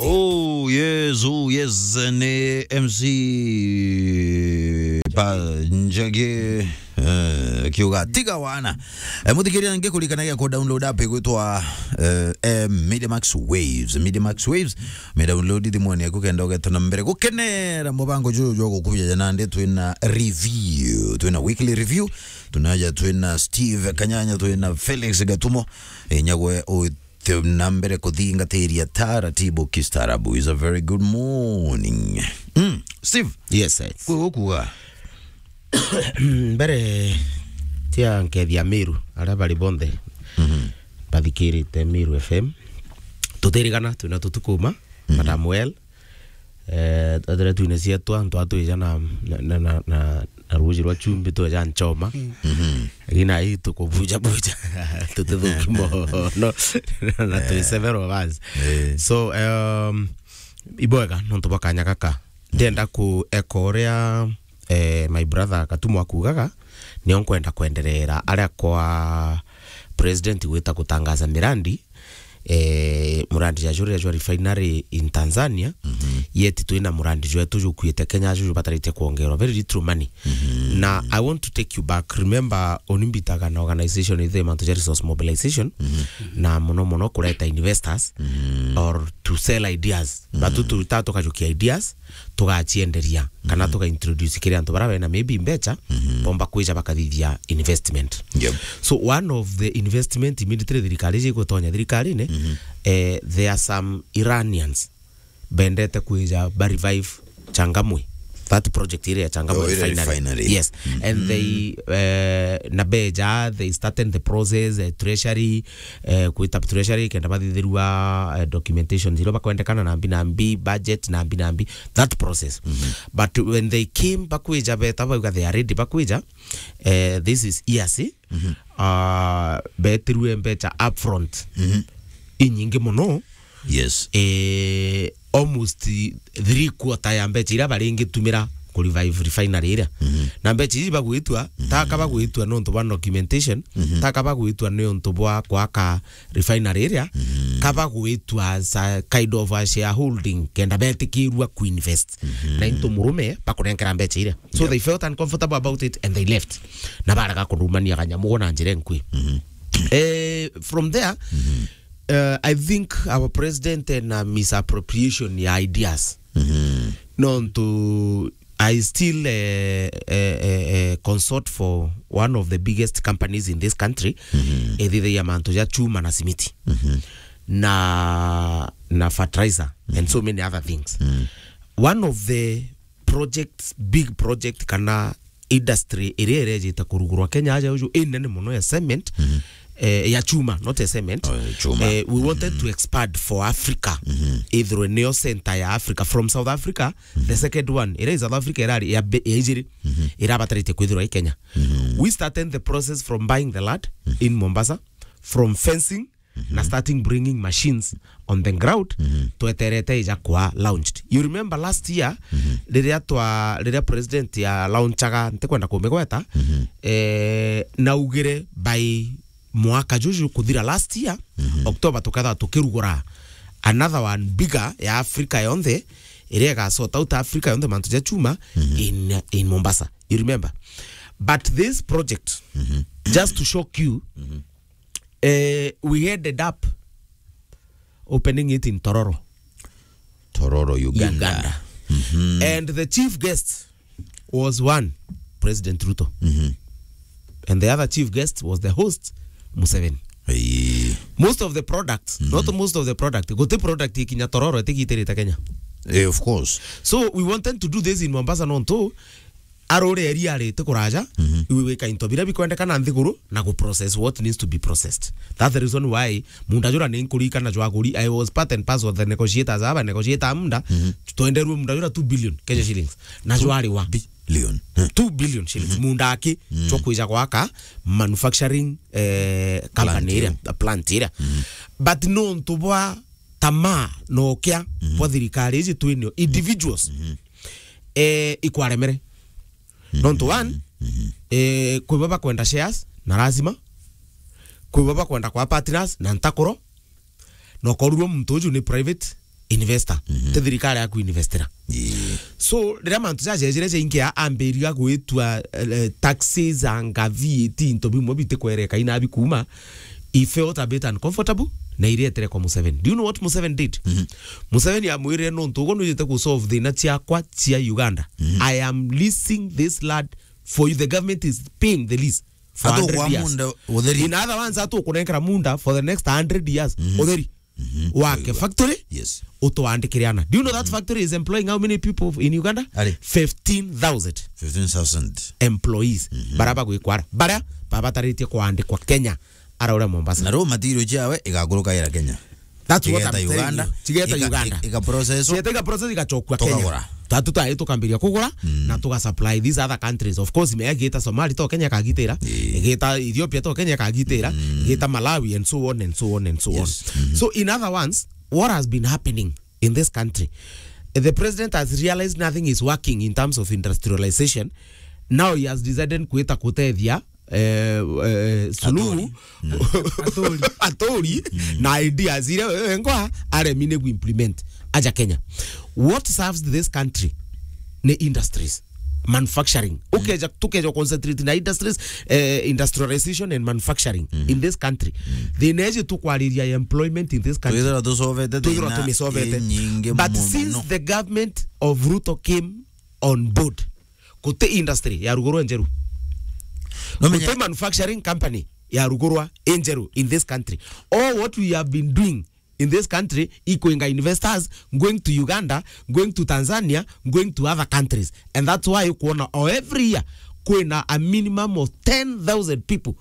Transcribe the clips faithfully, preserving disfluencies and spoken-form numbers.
Oh, yes, oh, yes, ni M C pa Njagi, eh, kiuga tiga wana. Eh, muthikiria ngi kurikanagia ku download app igwitwa, eh, eh, Media Max Waves. Media Max Waves, me download thimuni yaku kenda ugeta na mbere gukenera mubango juju jwa gukuja jana ndi twina review, twina weekly review, tunaja twina Steve Kanyanya, twina Felix Gatumo, inyagwe u- Twi na mbere kuthingatiria taratibu kistaarabu. Is a very good morning. Mm, Steve. Yes, sir. Kwi gukuga? Mbere tia nkethia Miru, aria bari bonthe, mhm, bathikirite Miru F M. Tutirigana, twina tutukuma, mhm, Madam Well. Eh, twethire twine cietwa, antu atwija na, na, na, na, na, na ruuji rwa chumbi, tweja nchoma. Mhm. Lakini ai tukubuja buja. Tutithuki mono. Na twi several of us. Eh. So, um, ibwega, nontu bwa kanya gaka. Ndenda ku echo uria, eh, my brother Katumo akugaga, nio nkwenda kwenderera aria kwa president gwita gutangaza mirandi, eh, murandi ja juria jwa refinery in Tanzania, mhm, yet twina murandi jwetu jukuite Kenya, juju batarite kwongerwa very little money. Mhm. Na I want to take you back. Remember, uni mbitaga na organization ithe mantu ja resource mobilization, mhm, na muno muno kureta investors, mhm, or to sell ideas. Mhm. Batu tuta tukajukia ideas, tugacienderia, kana, mhm, tuga introduce kiri antu bara bena maybe mbecha, mhm, bomba kwija bakathithia investment. Yep. So one of the investment immediately thirikari iji igutonya thirikarine, mhm, eh, there are some Iranians bendete kwija ba revive Changamwe. That project iria ya Changamwe, oh, iria refinery. Refinery. Yes. Mhm. And they, eh, na beja, they started the process, eh, treasury, eh, kwita treasury, kenda bathithirua, eh, documentation iria bakwendekana na mbi na mbi, budget na mbi na mbi, that process. Mhm. But when they came bakwija, beta bauga they are ready bakwija, eh, this is E A C, mhm, ah, betirue mbecha upfront, mhm, inyingi muno. Yes. Eh, almost three quarter ya mbecha iria baringitumira ku revive refinery iria. Mhm. Na mbecha iji bagwitua, mhm, taka bagwitua nontu bwa documentation, mhm, taka bagwitua nontu bwa kwaka refinery iria, mhm, kaba gwitwa as a kind of a shareholding, kenda betikirua kuinvest. Mhm. Na into murume bakunenkera mbecha iria. So, yep, they felt uncomfortable about it and they left. Na barega kurumania kanyamu na njira nkui. Mhm. Eh, from there, mhm, uh, I think our president ena misappropriation ya ideas. Mhm. Nontu I still, eh, eh, eh, eh, consort for one of the biggest companies in this country, mhm, ithithagia mantu ja chuma na simiti, mhm, na, na fertilizer, and, mhm, so many other things. Mhm. One of the projects, big project, kana industry iria irejite kurugurwa Kenya aja uju inene muno ya cement, mhm, eh, ya chuma, not ya cement. Oh, ya chuma. Eh, we wanted, mhm, to expand for Africa. Mhm. Ithirwe niyo center ya Africa. From South Africa, mhm, the second one, ira i South Africa irari ya be-, ya ijiri, mhm, irabatarite kwithirwa i Kenya. Mhm. We started the process from buying the land, mhm, in Mombasa, from fencing, mhm, na starting bringing machines on the ground, mhm, tweterete ija kwa launched. You remember last year, mhm, riria twa, riria president ya launchaga, ntikwenda kumigweta, mhm, eh, naugire by mwaka juju kuthira last year, mhm, October, tukethirwa tukirugura another one bigger ya Africa yonthe, iria iga sort out Africa yonthe mantu ja chuma, mhm, in, in Mombasa. You remember? But this project, mhm, just to shock you, mhm, eh, we ended up opening it in Tororo, Tororo, Uganda. Uganda. Mhm. And the chief guest was one, President Ruto. Mhm. And the other chief guest was the host, Museveni. Aye. Most of the products, mhm, not most of the product, guti product ikinya Tororo itigitirite Kenya. Eh, of course. So we wanted to do this in Mombasa nontu arore eria arite kuraja, mhm, iwe wika into biria bikwendekana nthiguru na gu process what needs to be processed. That's the reason why munda jura ni nkurikana jwaguri, I was part and parcel of the negotiators aba negotiator munda, mhm, twenderwe munda jura two billion Kenya shillings. Na jwariwa billion. Two billion shillings. Mhm. Munda aki, mhm, jwa kwija gwaka manufacturing, eh, company, plant iria, iria, plant iria. Mhm. But nontu bwa tamaa na ukia, mhm, bwa thirikari iji twinio, individuals, mhm, eh, ikwaremere. Mhm. Nontu one, mhm, eh, kwibo bakwenda shares na lazima, kwibo bakwenda kwa partners na ntakuro, na ukorurwo muntu uju ni private investor. Mhm. Ti thirikari ya kuinvestera. Ii. So, riria mantu jajejire jaingia, ambiriga gwitua, eh, taxes, anga V A T, into bimwe bitikwereka inabi kuuma, he felt a bit uncomfortable, na iretere kwa Museveni. Do you know what Museveni did? Mhm. Museveni amwirire, "Nontu uguo nujite ku solve thina ciakwa cia Uganda, mhm, I am leasing this land for you. The government is paying the lease for a hundred years. Munda utheri. In other words, atukunenkera munda for the next hundred years." Mhm. Utheri. Mhm. Wake factory, yes, utwandikire ana. Do you know that factory is employing how many people in Uganda? Ari. Fifteen thousand. Fifteen thousand employees. Mhm. Bara bagwikwara. Bara babataritie kwandikwa Kenya. Ara uria Mombasa. Na raw material ciawe igakurukaira Kenya. That's what I'm telling you. Igeta Uganda. Chigeta Uganda. Iga process. Chigeta iga process igachokua Kenya. Tukagura. Tatu tae tukambiria kugura, mm, na tuga supply these other countries. Of course, me igita Somali to Kenya kagitira, eh, igita Ethiopia to Kenya kagitira, mm, igita Malawi and so on and so on and so on. Yes. Mm-hmm. So in other words, what has been happening in this country, the president has realized nothing is working in terms of industrialization. Now he has decided kwita kutethia eh, eh, Suluhu, Aturi. Aturi, mm, na ideas iria wewe ngwa aremi ni implement aja Kenya. What serves this country ni industries, manufacturing. Mm. Ukeja, tukeja concentrate na industries, eh, industrialization and manufacturing, mm, in this country. Mm. Thina iji tukwariria employment in this country. Twithirwa tusovete. Twithirwa thina tumisovete inyingi. But muno, since the government of Ruto came on board, guti industry ya rugurwa njeru. No menya guti manufacturing company ya rugurwa njeru in this country. All what we have been doing in this country, ikwinga investors going to Uganda, going to Tanzania, going to other countries. And that's why ukuona, oh, every year, kwina a minimum of ten thousand people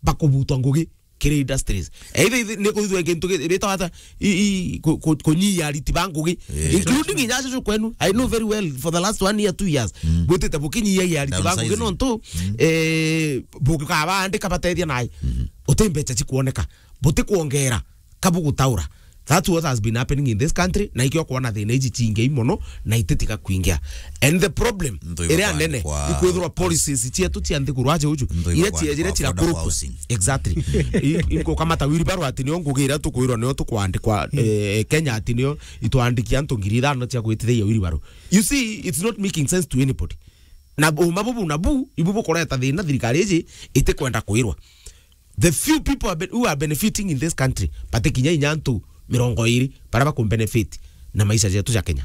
bakubutwa ngugi kiri industries. Either, either ni kuthithwa kintu ki-, bitawa ata, i, i, ku-, ku-, kunyia ariti ba ngugi, eh, including inya acio kwenu. I know very well, for the last one year, two years, mm, bwitite bukinyiagia ariti ba ngugi. Downsizing. Nontu, mm, eh, bukabandika batethia nai. Mm-hmm. Uti mbeca cikuoneka. Buti kuongera. Ka bugutaura. That's what has been happening in this country, na ikio kuona thina iji cingei mono, na ititiga kuingia. And the problem iria nene ikwithirwa policies cietu cia nthiguru aje uju, iria ciejire cirakurukwa. Exactly. I-, inkukamata wheelbarrow ati nio ngugi iria tukwirwa nio tukwandikwa, eh, Kenya, ati nio itwandikia antu ngiri ithano cia gwitithia wheelbarrow. You see, it's not making sense to anybody. Na uma bubu na bu, ibu bukureta thina thirikari iji itikwenda kwirwa. The few people are be-, who are benefiting in this country, bati kinya inya antu mirongo iri bara bakumbenefit na maisha jetu ja Kenya.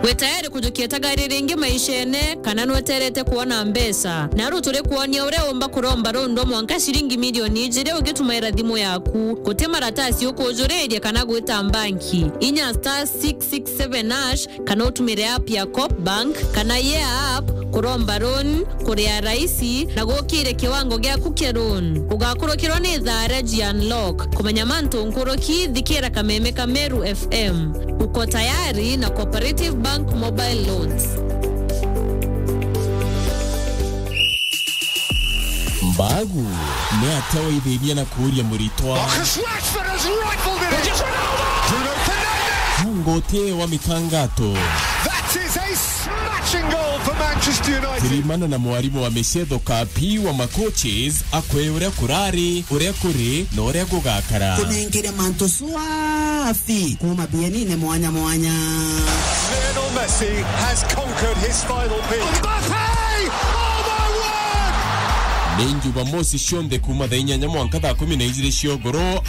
Wi tayari kujukia tagari ringi maishene, kana nweterete kuona mbeca? Naru turi kuonia uria umba kuromba rundwa mwanka ciringi milioni ijiri ugitumaira thimu yaku. Guti maratasi ukujuriria kana gwita mbanki. Inya star six six seven hash, kana utumire app ya Coop Bank kana Yeah App kuromba loan, kuria raisi na gukire kiwango giaku kia loan. Ugakurukirwa ni thaa ria ji unlock. Kumenya mantu nkuruki, thikira kameme ka Meru F M. Uko tayari na Cooperative Bank Mobile Loans. Mbagu ni atia waithirie na kuuria muritwa? Marcus Rashford has rifled it in. Just Ronaldo! Bruno Fernandes! Nguti wa mitangato. That is a smashing goal for Manchester United. Kirimana na mwarimu wa micetho Kapi wa macoaches akwe uria kurari, uria kuri na uria gugakara. Kunengere mantu swafi kuma bienine mwanya mwanya. Lionel Messi has conquered his final peak. Mbappe! Oh my word! Ni Jumamosi cionthe kuma thaa inyanya mwanka thaa kumi na ijiri cia ugoro.